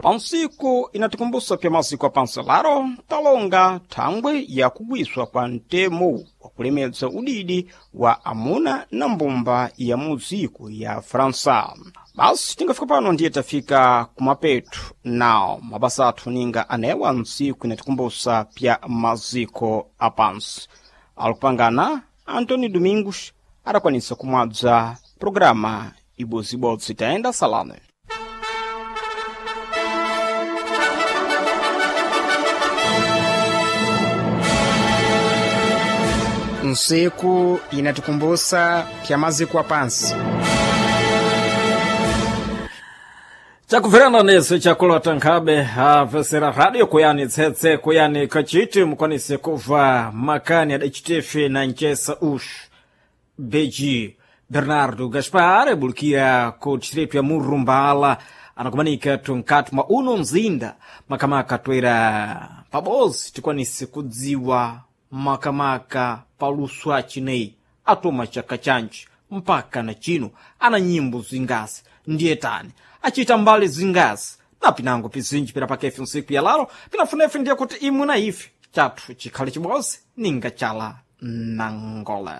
Pansiku inatikumbusa pya maziko apanselaro talonga thangwe ya kugwiswa kwa ntemo wa kulemedza udidi wa amuna na mbumba ya muziko ya França. Basi tingafika pano ndiye tafika kumapetu nawo mabasa athu ninga anewa ntsiku inatikumbusa pya maziko apansi. Alupangana Antônio Domingos adakwanisa kumwadza programa ibozibodzi tayenda salame. Nsiku inatikumbusa pya maziko apansi. Chakubverana nese chakulota nkhabe apesera radio kuyani tsetse kuyani kachiti mukwanise kubva makani adacitefe na ncesa uxu beji Bernardo Gaspar abulikira ku distrito ya Murumbala anakumanika tunkati mwa uno mzinda makamaka toera pabozi tikwanise kudziwa makamaka paluso acineyi atoma chaka chanji mpaka na chino ana nyimbo zingasi ndiye tani achita mbali zingasi na pinango pizinji pira pakefe nsiku ya laro pinafunefe ndiye kuti imwe na ife chathu chikhale chibodzi ninga chala nangole.